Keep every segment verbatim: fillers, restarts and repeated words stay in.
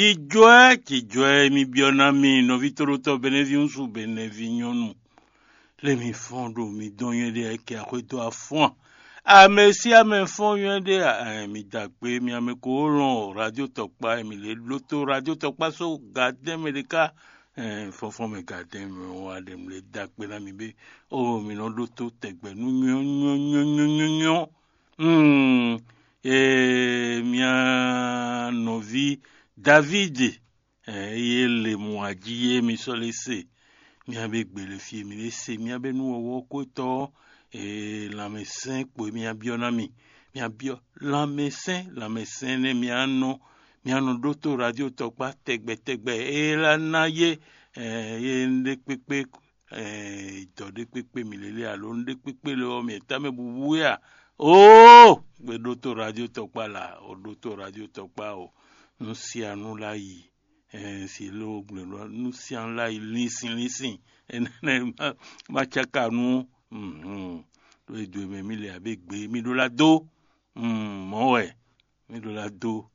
Jijɔɛ, jijɔɛ mi byɔ́ ná mi nɔví tóɖótɔ́ Benɛví ŋúsu Benɛví nyɔ́nu. Lé mi fɔ́n ɖo mi dɔn nyɔ́ɖe kɛ axwédó afɔ́n. Ame sí ame fɔ́n nyɔ́ɖe a, mi da kpé mi ame ko lɔn radio tɔkpá mi lě lótó radio tɔkpá só gadɛn mɛ ɖé ká. Fɔ́nfɔ́n mɛ gadɛn mɛ wá ɖe mi lě da kpé ná mi bé. O mi nɔ ɖótó tɛgbɛ nú nyɔ́ nyɔ́ nyɔ́ nyɔ́ nyɔ́ nyɔ́. Hmm, e mia nɔví David, e ye le mɔ aji ye mi sɔ le se. Mia be gbele fi mi le se mia be nu wɔwɔ ko tɔ e lanmɛsɛn kpo mia biɔ na mi. Mia biɔ lanmɛsɛn lanmɛsɛn ne mia nɔ mia nɔ ɖótó radio tɔkpa tɛgbɛ tɛgbɛ e la na ye, e ye nɖe kpekpe dɔ ɖé kpékpé mǐ lélé alo nú ɖé kpékpé lé ɔ́, mǐ tá mɛ bubu wɛ a? Oo, gbe ɖótó radio tɔkpá la, o ɖótó radio tɔkpá o, nú sia nú lá yi, si ló gblé ɖɔ nú sia nú lá yi linsin linsin, énɛ́ má cáka nú ɖó e dwe mɛ mí le abé gbe mí ɖó lá dó. Mɔ̌ wɛ mí ɖó lá dó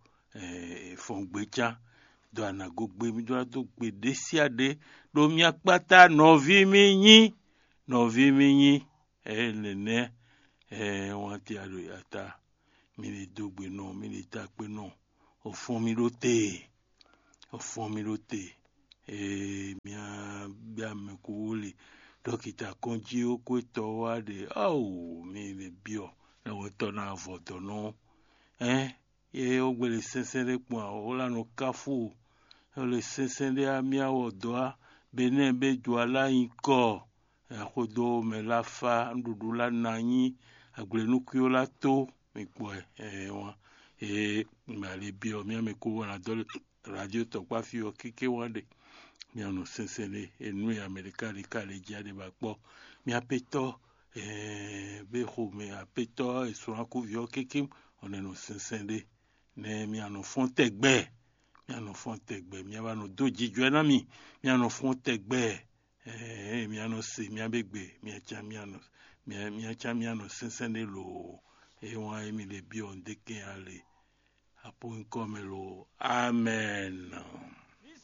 fɔngbe cán, dó anǎgógbé mí ɖó lá dó gbe ɖé síá ɖé ɖo mia kpáta nɔví mí nyí. Nɔví mí nyí. Ɛ nɛnɛ́ ɛ wánti aɖo ata. Mí lè dó gbe nɔ mí lè ta kpé nɔ. Ò fɔ́n mì ɖó te. Ò fɔ́n mì ɖó te. Ee mía bia mɛ kó wó le dɔkita kɔnjí ó kó tɔ wá ɖe ao mí lè biɔ lɛwɛtɔ ná vɔ dɔ nɔ. Ɛn ye ó gbele sɛnsɛn ɖé kpɔn a ó la nɔ káfó o. Ó le sɛnsɛn ɖé á mía wɔ dɔ á benɛ́ bé ju alá nyikɔ. Axwedó mɛ lá fá nɖuɖu lá ná nyí agblenúkwíó lá tó. Mi kpɔ ɛ ɛ wán. Ee mɛ ali biɔ mía mɛ kó wɔ ná dɔ radio tɔkpá fí ɔ kéké wán ɖe. Mía nɔ sɛnsɛn ɖe enú e amɛɖeka ɖeka ɖe jí aɖe ba kpɔ. Mía pétɔ bexomɛ apetɔ esunakuvi ɔ́ kéké ɔnɛ nɔ sɛnsɛn ɖe. Nɛ mía nɔ fɔ́n tɛgbɛ. Mía nɔ fɔ́n tɛgbɛ mía ba nɔ dó jijɔɛ ná mi. Mía nɔ fɔ́n tɛgbɛ. Mía nɔ se mía be gbe mía can mía nɔ mía can mía nɔ sɛnsɛn ɖe loo. Eye wán emi ɖe biɔ ŋdekɛn ale. Apo nyikɔ mɛ loo. Amɛn.